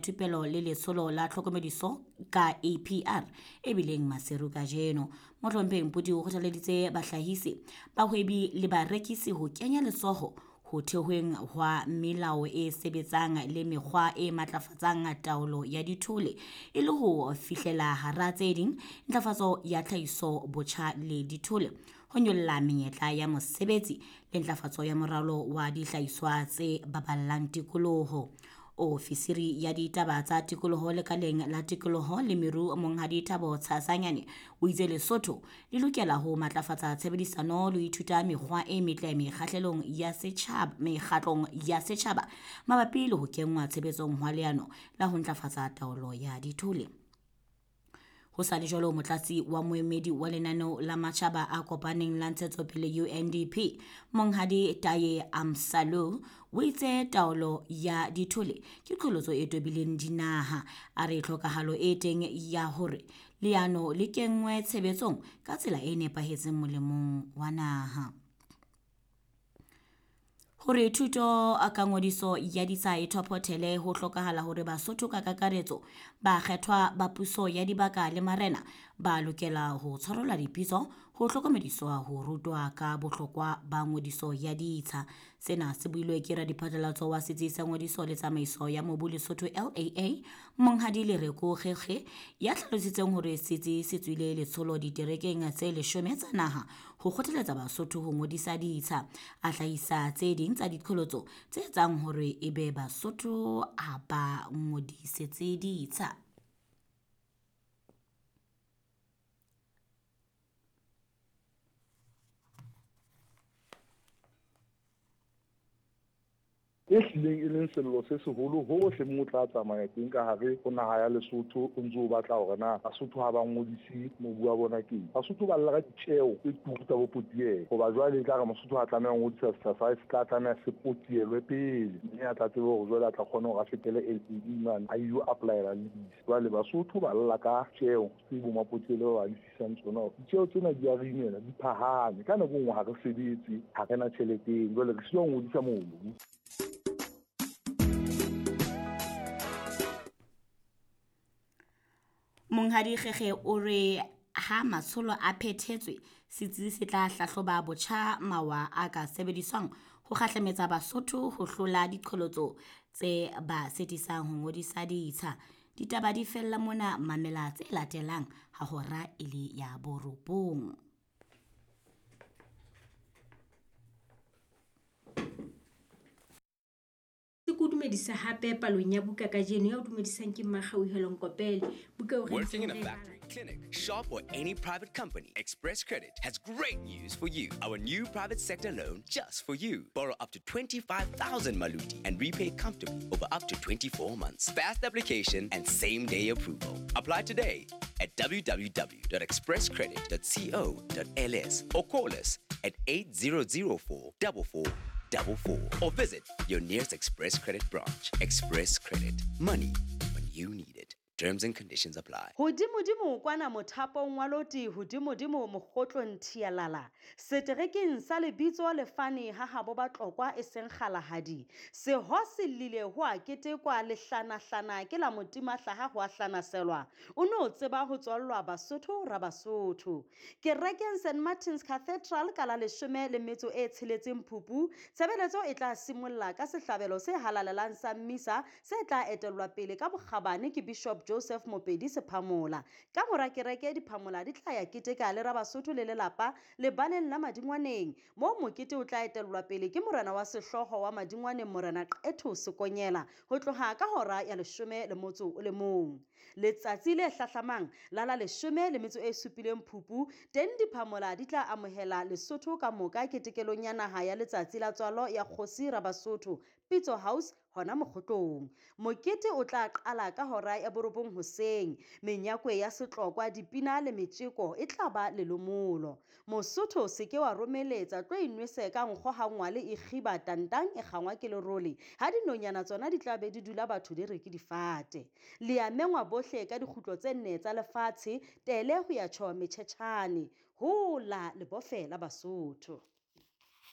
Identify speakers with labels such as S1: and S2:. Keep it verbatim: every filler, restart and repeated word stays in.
S1: Thupelo le letsholo la tlhokomediso ka A P R e bileng Maseru kajeno. Mohlomphehi Mpudi o kgothaleditse bahlahisi, bahwebi le barekisi ho kenya letsoho ho thehweng hwa melao e sebetsang le mekgwa e matlafatsang taolo ya dithole e le ho fihlela hara tse ding ntlafatso ya tlhahiso botjha le dithole, ho nyolla menyetla ya mosebetsi le ntlafatso ya moralo wa dihlahiswa tse baballang tikoloho. Ofisiri ya ditaba tsa tikoloho lekaleng la tikoloho le meru Monghadi Thabo Tshasanyane o itse Lesotho le lokela ho matlafatsa tshebedisano le ho ithuta mekgwa e metle mekgahlelong ya setjhaba mekgatlong ya setjhaba mabapi le ho kenngwa tshebetsong hwa leano la ho ntlafatsa taolo ya dithole. Ho sa le jwalo, motlatsi wa moemedi wa lenaneo la matjhaba a kopaneng la ntshetsopele U N D P Monghadi Taye Amsalu o itse taolo ya dithole ke qholotso e tobileng dinaha. A re tlhokahalo e teng ya hore leano le kenngwe tshebetsong ka tsela e nepahetseng molemong wa naha. Hore thuto ka ngodiso ya ditsha e thophothele ho hlokahala hore Basotho ka kakaretso ba kgethwa ba puso ya dibaka le marena ba lokela ho tshwarelwa dipitso ho hlokomediswa ho rutwa ka bohlokwa ba ngodiso ya ditsha. Sena se builwe ke radiphatlalatso wa setsi sa ngodiso le tsamaiso ya mobu Lesotho L A A Monghadi Lereko Kgekge ya hlalositseng hore setsi se tswile letsholo diterekeng tse leshome tsa naha ho kgothaletsa Basotho ho ngodisa ditsha. A hlahisa tse ding tsa diqholotso tse etsang hore ebe Basotho ha ba ngodisetse ditsha.
S2: E hlileng e leng sello se seholo hohle moo o tla tsamaya teng ka hare ho naha ya Lesotho, o ntso o batla hore na Basotho ha ba ngodise mobu wa bona keng. Basotho ba lla ka ditjeo tse turu tsa bopotielo, hoba jwale e tla re Mosotho ha tlameha ho ngodisa setsha sa hae, se tla tlameha se potielwe pele, mme a tla tsebe hore jwale a tla kgona hore a fetele L A E mane a ilo apply-ela lease. Jwale Basotho ba lla ka tjeo tse bo mapotielo ba ba lefisang tsona. Ditjeo tsena di a re imela, di phahame. Ka nako e nngwe ha re sebetse, ha re na tjheleteng, jwale re sitwa ho ngodisa mobu.
S1: Monghadi Kgekge o re ha matsholo a phethetswe, setsi se tla hlahloba botjha mawa a ka sebediswang ho kgahlametsa Basotho ho hlola diqholotso tse ba sitisang ho ngodisa ditsha. Ditaba di fella mona, mamela tse latelang ha hora e le ya borobong.
S3: Ke dumedisa hape palong ya buka kajeno ya o dumedisang ke Mmakgauhelo Nkopele. Buka eo re
S4: Working in a
S3: ntse re
S4: factory, clinic, shop or any private company, Express Credit has great news for you. Our new private sector loan just for you. Borrow up to twenty-five thousand maluti and repay comfortably over up to twenty-four months. Fast application and same-day approval. Apply today at w w w dot express credit dot co dot l s or call us at eight zero zero four double four double four or visit your nearest Express Credit branch. Express Credit. Money when you need it. Terms and conditions apply.
S5: Hodimodimo kwana mothapong wa loti, hodimodimo mokgotlong thialala. Seterekeng sa lebitso lefane ha habo ba tlokwa e seng kgalahadi. Seho se llile ho a ketekwa lehlanahlana ke la motima hlaha ho a hlanaselwa. O no tseba ho tswallwa Basotho ra Basotho. Kerekeng Saint Martin's Cathedral ka la leshome le metso e tsheletseng Phupu, tshebeletso e tla simolla ka sehlabelo se halalelang sa mmisa se tla etellwa pele ka bokgabane ke Bishop Joseph Mopedi Sephamola. Ka mora kereke diphamola di tla ya keteka le Rabasotho le lelapa lebaleng la Madingwaneng, moo mokete o tla etellwa pele ke morena wa sehlooho wa Madingwaneng Morena Qetho Sekonyela ho tloha ka hora ya leshome le motso o le mong. Letsatsi le hlahlamang la la leshome le metso e supileng Phupu, teng diphamola di tla amohela Lesotho ka moka ketekelong ya naha ya letsatsi la tswalo ya kgosi Rabasotho Pitso House hona mokgotlong. Mokete o tla qala ka hora ya borobong hoseng. Menyakwe ya setlokwa, dipina le metjeko e tla ba lelomolo. Mosotho se ke wa romeletsa, tlo inwese ka nkgo ha ngwale e kgiba tantang e kgangwa ke lerole. Ha dinonyana tsona di tla be di dula batho di re ke difate. Le a mengwa bohle ka dikgutlo tse nne tsa lefatshe, tele ho ya tjho metjhetjhane. Hola lebofe la Basotho.